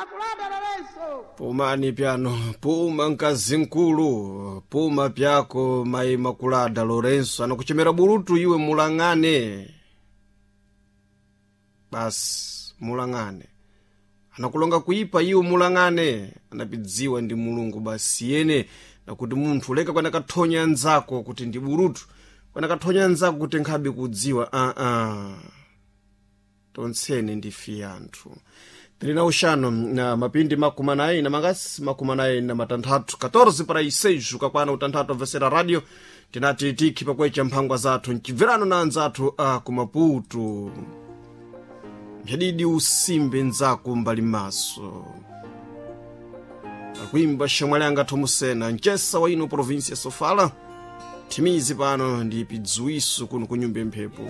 Imakulada Lorenzo. Pumani pyano, puma mkazi mkulu, puma pyako mayi Makulada Lorenzo anakuchemera bulutu iwe mulang'ane. Basi mulang'ane. Anakulonga kuipa iwe mulang'ane, anapidziwa ndi Mulungu basi yene nakuti munthu leka kwena kathonya anzako kuti ndi bulutu, kwena kathonya anzako kuti nkhabe kudziwa Tontsene ndife anthu. Tili na uxano na mapindi makumi anayi na mangasi 46, 14 para 6 ukakwana utanthatu amvesera radio tinati tikhi pakwecha mphangwa zathu mcibverano na anzathu a kumaputu. Mphadidi usimbe nzako mbali maso akuimba xamwali anga thomusena mcesa wa ino província Sofala. Thimizi pano ndi pidziwiso kuno ku nyumba ya mphepo.